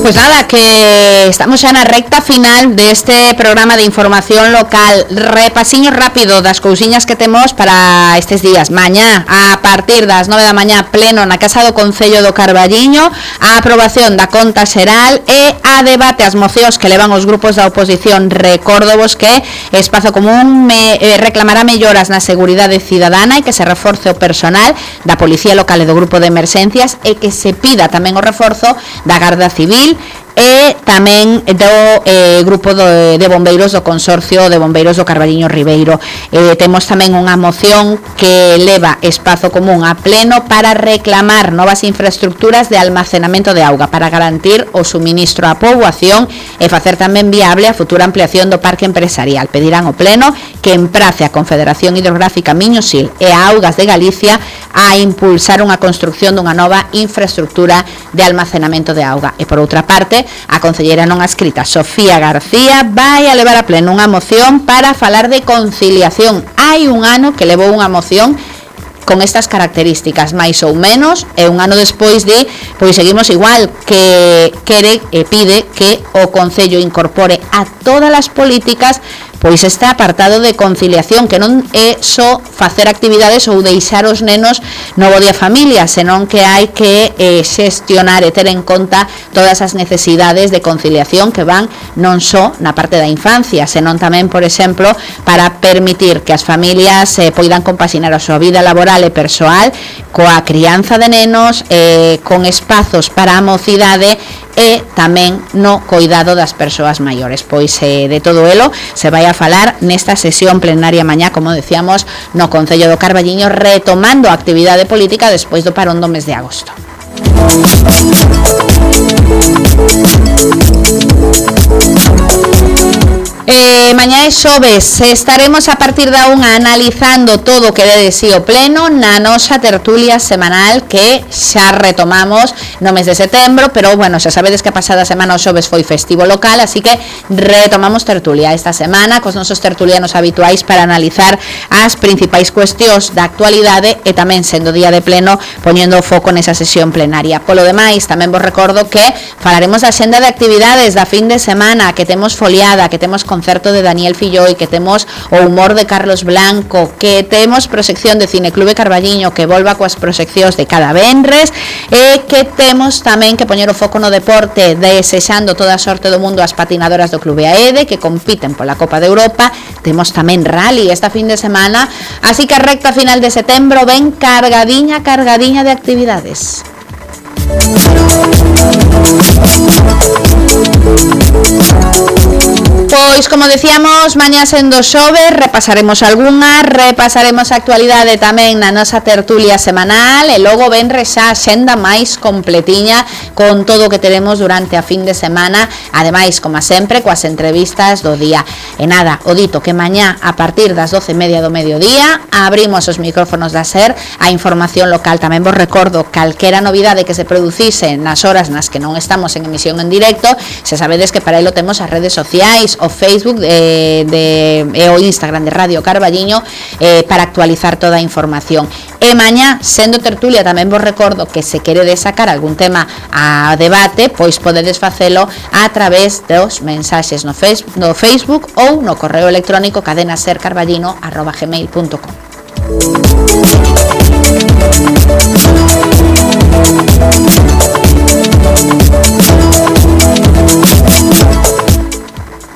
Pues nada, que estamos xa na recta final deste programa de información local. Repasiño rápido das cousiñas que temos para estes días. Mañá, a partir das 9 da mañá, pleno na Casa do Concello do Carballiño, a aprobación da conta xeral e a debate as mocións que levan os grupos da oposición. Recórdovos que Espazo Común reclamará melloras na seguridade cidadana e que se reforce o personal da Policía Local e do Grupo de Emerxencias e que se pida tamén o reforzo da Garda Civil e tamén do grupo de bombeiros do Consorcio de Bombeiros do Carballiño Ribeiro. Temos tamén unha moción que leva Espazo Común a pleno para reclamar novas infraestructuras de almacenamento de auga para garantir o suministro á poboación e facer tamén viable a futura ampliación do parque empresarial. Pedirán ao pleno que emprace a Confederación Hidrográfica Miño-Sil e a Augas de Galicia a impulsar unha construcción dunha nova infraestructura de almacenamento de auga. E por outra parte, a concelleira non adscrita Sofía García vai a levar a pleno unha moción para falar de conciliación. Hai un ano que levou unha moción con estas características, máis ou menos, e un ano despois pois seguimos igual, que quere e pide que o Concello incorpore a todas as políticas pois este apartado de conciliación, que non é só facer actividades ou deixar os nenos no bo de familia, senón que hai que xestionar e ter en conta todas as necesidades de conciliación que van non só na parte da infancia, senón tamén, por exemplo, para permitir que as familias poidan compaxinar a súa vida laboral e persoal coa crianza de nenos, con espazos para a mocidade e tamén no coidado das persoas maiores. Pois de todo elo se vai a falar nesta sesión plenaria mañá, como decíamos, no Concello do Carballiño, retomando a actividade política despois do parón do mes de agosto. Mañá é xoves, estaremos a partir da 1 analizando todo o que de sí o pleno na nosa tertulia semanal que xa retomamos no mes de setembro, pero bueno, xa sabedes que a pasada semana o xoves foi festivo local, así que retomamos tertulia esta semana cos nosos tertulianos habituais para analizar as principais cuestións da actualidade e tamén sendo día de pleno poñendo o foco nesa sesión plenaria. Polo demais, tamén vos recordo que falaremos da xenda de actividades da fin de semana, que temos foliada, que temos concerto de Daniel Filloi, que temos o humor de Carlos Blanco, que temos proxección de Cineclube Carballiño que volva coas proxeccións de cada venres e que temos tamén que poñer o foco no deporte, desexando toda a sorte do mundo ás patinadoras do Clube AEDE que compiten pola Copa de Europa. Temos tamén rally esta fin de semana, así que a recta final de setembro ven cargadiña de actividades. Pois, como decíamos, mañá sendo xoves, repasaremos algunha, repasaremos a actualidade tamén na nosa tertulia semanal e logo venres xa a xenda máis completiña con todo o que teremos durante a fin de semana, ademais, como sempre, coas entrevistas do día. E nada, o dito que mañá, a partir das 12:30 do mediodía, abrimos os micrófonos da SER a información local. Tamén vos recordo calquera novidade que se producise nas horas nas que non estamos en emisión en directo, se sabedes que para elo temos as redes sociais, o Facebook e o Instagram de Radio Carballiño para actualizar toda a información. E mañá, sendo tertulia, tamén vos recordo que se queredes sacar algún tema a debate, pois podedes facelo a través dos mensaxes no Facebook ou no correo electrónico cadenasercarballino@gmail.com.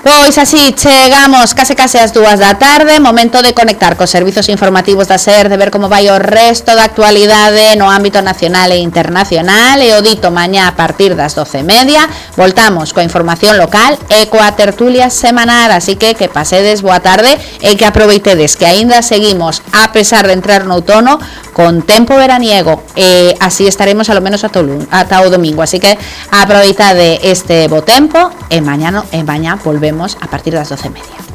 Pois así chegamos case ás 2 da tarde, momento de conectar cos servizos informativos da SER, de ver como vai o resto da actualidade no ámbito nacional e internacional. E o dito mañá a partir das 12:30 voltamos coa información local e coa tertulia semanal, así que pasedes boa tarde e que aproveitedes que aínda seguimos, a pesar de entrar no outono, con tempo veraniego, e así estaremos alo menos ata o domingo, así que aproveitade este bo tempo e mañá volvemos a partir das 12:30.